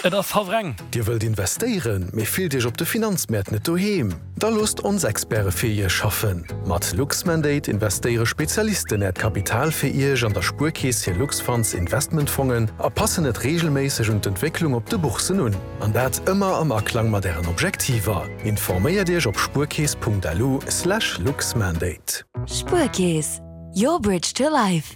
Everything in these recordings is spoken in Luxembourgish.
Et ass hallwer eng. Dir wëllt investéieren, mee fillt Iech op de Finanzmäert net doheem? Da loosst ons Experte fir Iech schaffen! Mat Luxmandate investéiere Spezialisten Äert Kapital fir Iech an der Spuerkeess hir Luxfunds Investmentfongen a passen et reegelméisseg un d'Entwécklung op de Boursen un. An dat ëmmer am Aklang mat Ären Objektiver. Informéiert Iech op spuerkeess.lu slash luxmandate. Spuerkeess, your bridge to life.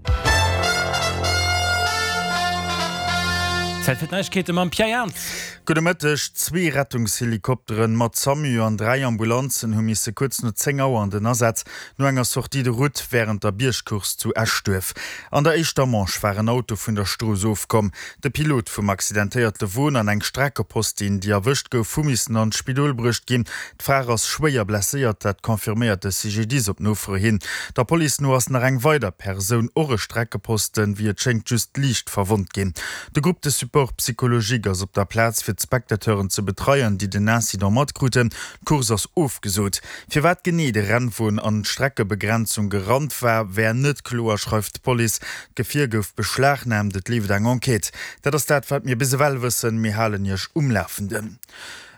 Zäit fir d'Neiegkeete mam Pierre Jans. Gudde Mëtteg. Zwee Rettungshelikopteren mat SAMU an 3 Ambulanzen hu misse kuerz no 10 Auer an den Asaz no enger Sortie de route wärend der Biergcourse zu Eschduerf. An der éischter Manche war en Auto vun der Strooss ofkomm. De Pilot vum accidentéierte Won an eng Streckepostin, déi erwëscht gouf, hu missen an d'Spidol bruecht ginn. D'Fra ass schwéier blesséiert, dat confirméiert de CGDIS op Nofro hin. Der Police no ass nach eng weider Persoun, och e Streckeposten, wéi et schéngt just liicht verwonnt ginn. De Groupe de support psychologique ass op der Plaz fir d'Spectateuren ze betreien, déi den Incident matkruten. D'Course ass ofgesot. Firwat genee de Rennwon an d'Streckebegrenzung gerannt war, wär net kloer, schreift d'Police. D'Gefier gouf beschlagnaamt, et leeft eng Enquête. Dat ass dat, wat mir bis ewell wëssen. Mir halen Iech um Lafenden.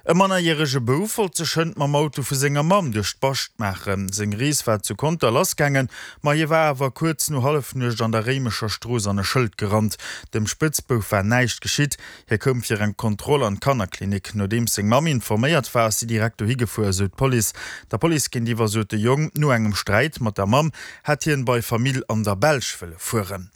E mannerjärege Bouf wollt sech hënt mam Auto vu senger Mamm duerch d'Bascht maachen. Seng Rees war zu Conter lassgaangen, ma hie war awer kuerz no Hallefnuecht an der Réimecher Strooss an e Schëld gerannt. Dem Spëtzbouf war näischt geschitt. Hie koum fir eng Kontroll an d'Kannerklinik. Nodeems seng Mamm informéiert war, ass si direkt dohi gefuer, esou d'Police. Der Police géintiwwer sot de Jong, no engem Sträit mat der Mamm hätt hien bei Famill an der Belsch wëlle fueren.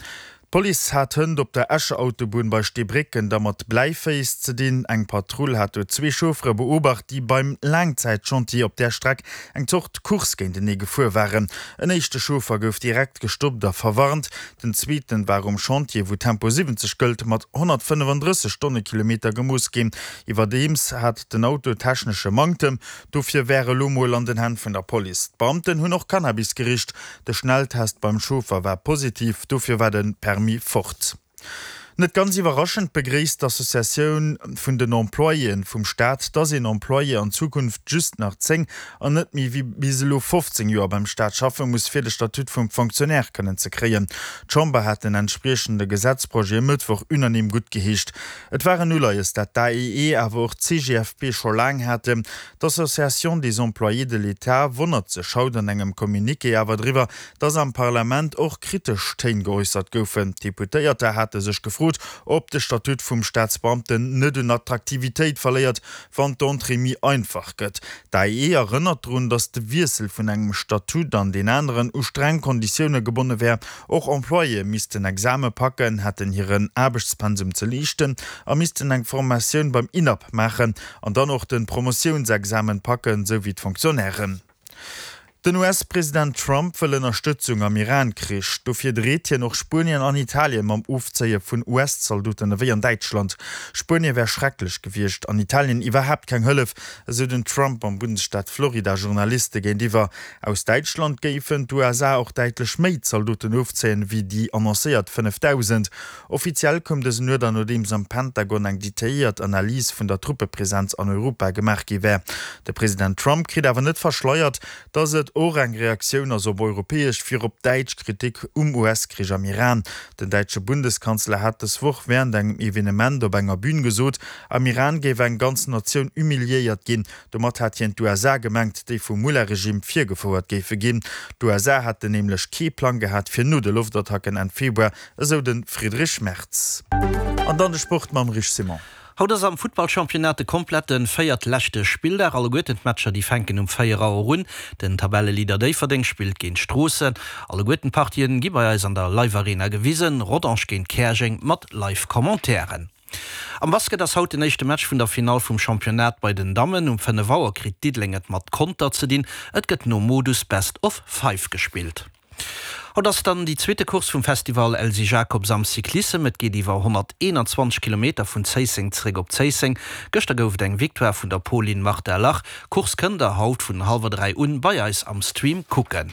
D'Police hat hënt op der Escher Autobunn bei Steebrécken da mat Bläiféiss ze dinn. Eng Patrull hat do zwee Chauffere beobacht, déi beim Laangzäitchantier op där Streck eng Zort Course géintenee gefuer waren. En éischte Chauffer gouf direkt gestoppt a verwarnt. Den zweeten war um Chantier, wou Tempo 70 gëllt, mat 135 Stonnekilometer gemooss ginn. Iwwerdeems hat den Auto technesche Manktem. Dofir wär elo mol an den Hänn vun der Police. D'Beamten hunn och Cannabis gericht. De Schnelltest beim Chauffer war positiv, dofir war de Permis fort. Net ganz iwwerraschend begréisst d'Associatioun vun den Employéen vum Staat, dass een Employé an Zukunft just nach 10 an net méi wéi bis elo 15 Joer beim Staat schaffe muss, fir de Statut vum Fonctionnaire kënnen ze kréien. D'Chamber hat den entspriechende Gesetzprojet e Mëttwoch unanime guttgeheescht. Et war en Uleies, dat d'AEE, awer och d'CGFP scho laang haten. D'Association des employés de l'État wonnert sech haut an engem Communiqué awer driwwer, datt am Parlament och kritesch Téin geäussert goufen. D'Deputéierter hate sech gefrot, ob de Statut vum Staatsbeamten net un Attraktivitéit verléiert, wann d'Entrée méi einfach gëtt. D'AEE erënnert drun, datt de Wiessel vun engem Statut an deen aneren u streng Konditioune gebonne wär. Och Employéë missten Exame packen, hätten hiren Aarbechtspensum ze leeschten a missten eng Formatioun beim INAP maachen. An dann och den Promotiounsexamen packen, sou wéi d'Fonctionnairen. Den US-President Trump wëll Ënnerstëtzung am Iran-Krich. Dofir dreet hien och Spuenien an Italien mam Ofzéie vun US-Zaldoten ewéi an Däitschland. Spuenie wär schrecklech gewiescht an Italien iwwerhaapt keng Hëllef, esou den Trump am Bundesstaat Florida Journaliste géintiwwer. Aus Däitschland géifen d'USA och däitlech méi Zaldoten ofzéien, wéi déi annoncéiert 5.000. Offiziell koum dësen Uerder, nodeems am Pentagon eng detailléiert Analys vun der Truppepresenz an Europa gemaach gi wär. De President Trump kritt awer net verschleiert, datt et och eng Reaktioun ass op europäesch, virop däitsch Kritik um US-Krich am Iran. Den däitsche Bundeskanzler hat dës Woch wärend engem Evenement op enger Bün gesot, am Iran géif eng ganz Natioun humiliéiert ginn. Domat hat hien d'USA gemengt, déi vum Mullah-Regime virgefouert géife ginn. D'USA hätten nämlech kee Plang gehat fir no de Loftattacken Enn Februar, esou de Friedrich Merz. An dann de Sport mam Rich Simon. Haut ass am Futtballchampionnat de komplette véiertleschte Spilldag. Alleguerten d'Matcher déi fänken um 4 Auer un. Den Tabelleleader Déifferdeng spillt géint Stroossen. Alleguerten d'Partien gi bei eis an der Live Arena gewisen. Rodange géint Käerjeng mat Live Commentairen. Am Basket ass haut den éischte Match vun der Finall vum Championnat bei den Dammen. Um 5 Auer kritt Diddeleng et mat Conter ze dinn. Et gëtt nom Modus Best of Five gespillt. Haut ass dann déi zweete Course vum Festival Elsy Jacobs am Cyclissem. Et geet iwwer 121 Kilometer vun Zéisseng zeréck op Zéisseng. Gëschter gouf et eng Victoire vun der Polin Marta Lach. D'Course kënnt der haut vun hallwer 3 un bei eis am Stream kucken.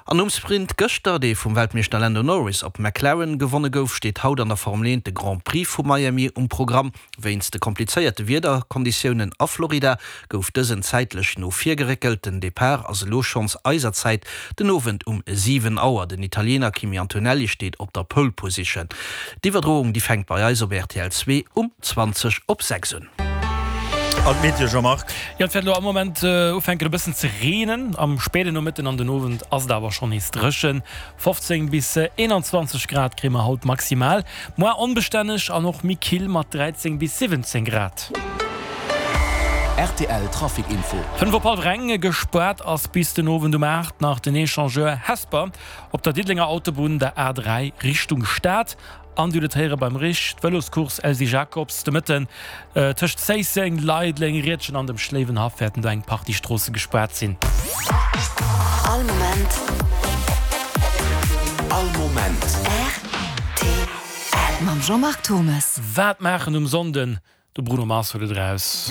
An nom Sprint gëschter, dee vum Weltmeeschter Lando Norris op McLaren gewonne gouf, steet haut an der Formel 1 de Grand Prix vu Miami um Programm. Wéinst de komplizéierte Wiederkonditiounen a Florida gouf dësen zäitlech no vir geréckelt. Den Depart ass elo schonns eiser Zäit den Owend um 7 Auer. Den Italiener Kimi Antonelli steet op der Pole Position. D'Iwwerdroung déi fänkt bei eis op rtl 2 um 20 op 6 un. An d'Meteo, Jean-Marc? Jo, et wäert elo am Moment ufänken e bëssen ze reenen. Am spéiden Nomëtten an den Owend ass et awer schonn nees dréchen. 15 bis 21 Grad kréie mer haut maximal, moar onbestänneg an och méi kill mat 13 bis 17 Grad. Rtl Trafic Info. 5 op hallwer eng, Gespaart ass bis den Owend um 8 nach den Echangeur Hesper op der Diddelenger Autobunn, der A3 Richtung Stad. An Dir hutt et héiere beim Rich, d'Vëloscourse Elsy Jacobs de Mëtten tëscht Zéisseng, Leideleng, Riedgen an dem Schléiwenhaff wäerten do eng Partie Stroosse gespaart sinn. All Moment. All Moment. Rtl. Mam Jean-Marc Thomes. Wat maachen um Sonnden? De Bruno Mars huet et eraus.